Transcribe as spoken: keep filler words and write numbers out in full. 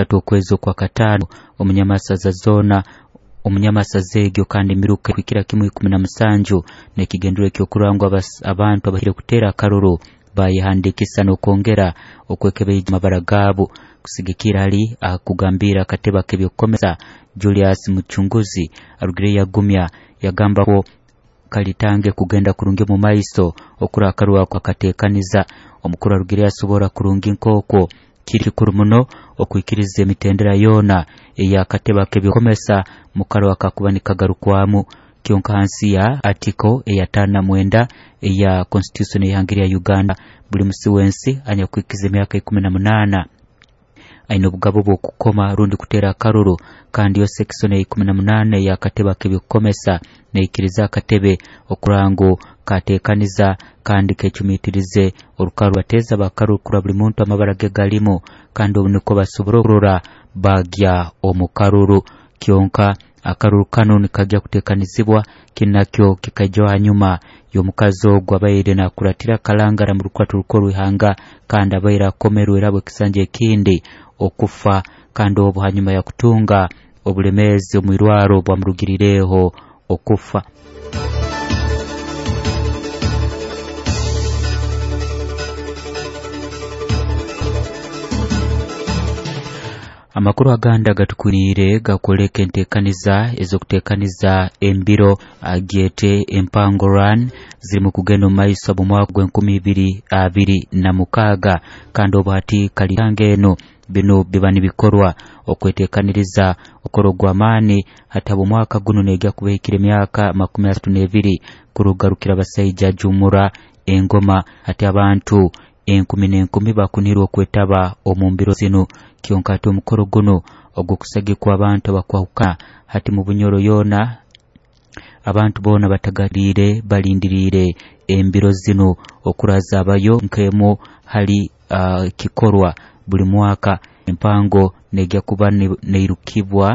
Tatu okwezi okwa kataano omunyamasaza zoona omunyamasaza egyo, kandi emiruka kuhikira kimu ikumi na musanju n'ekigendererwa ekyokurora ngu abantu abahikire kuteera akaruru bayehandiikisa n'okwongera okwekebeija amabara gaabo. Kusigikira hali akugambira akatebe ak'ebyokukomesa Julius Muchunguzi, arugireyo yagumya yagamba ko kalitange kugenda kurungi omu maiso okura akaruru ako akateekaniza. Omukuru arugireyo asobora kurungi nk'okwo kiri kikuru muno okwikiriza emitendera yoona ey'akatebe ak'ebyokukomesa mu karuru akakuba nikagarukwamu. Kyonka hansi ya article eya taano na mwenda eya constitution ey'ihanga lya Uganda, buli musi w'ensi anyakwikiza emyaka ikumi na munaana aine obugabo bw'okukoma rundi kuteera akaruru. Kandi yo section ya ikumi na munaana ey'akatebe ak'ebyokukomesa neikiriza akatebe okurora ngu kateekaniza kandi kecumiitirize orukaru bateeza bakaruru kurora buli muntu amabara ge galimu, kandi obu nikwo basobora okurora bagya omu karuru. Kyonka akaruru kanu nikajya kuteekanizibwa, kinu nakyo kikaijaho hanyuma y'omukazi ogu abaire nakuratira kalangara mu rukwata rukuru rw'ihanga, kandi abaire akomerwe era ekisanja ekindi okufa, kandi obu hanyuma ya kutunga obulemeezi omu irwaro bwamurugirireho okufa. Amakuru agandi agatukwiriire gakwoleka enteekaniza ez'okuteekaniza embiro agyete Empango Run zirimu kugenda omu maiso mu mwaka gw'enkumi ibiri abiri na mukaaga, kandi obu hati kalitanga eno binu biba nibikorwa okweteekaniriza okukora ogw'amaani. Hati habw'omwaka guno negya kuba ehikire emyaka makumi asatu n'ebiri kurugarukira abasaija jumura engoma. Hati abantu enkumi n'enkumi bakunirwe okwetaba omu mbiro zinu. Kyonka hati omukoro guno ogw'okusagikwa abantu abakwahukana hati mu Bunyoro yoona abantu boona batagariire balindiriire embiro zinu okurazabayo nk'emu hali uh, kikorwa buli mwaka. Empango negya kuba neirukibwa.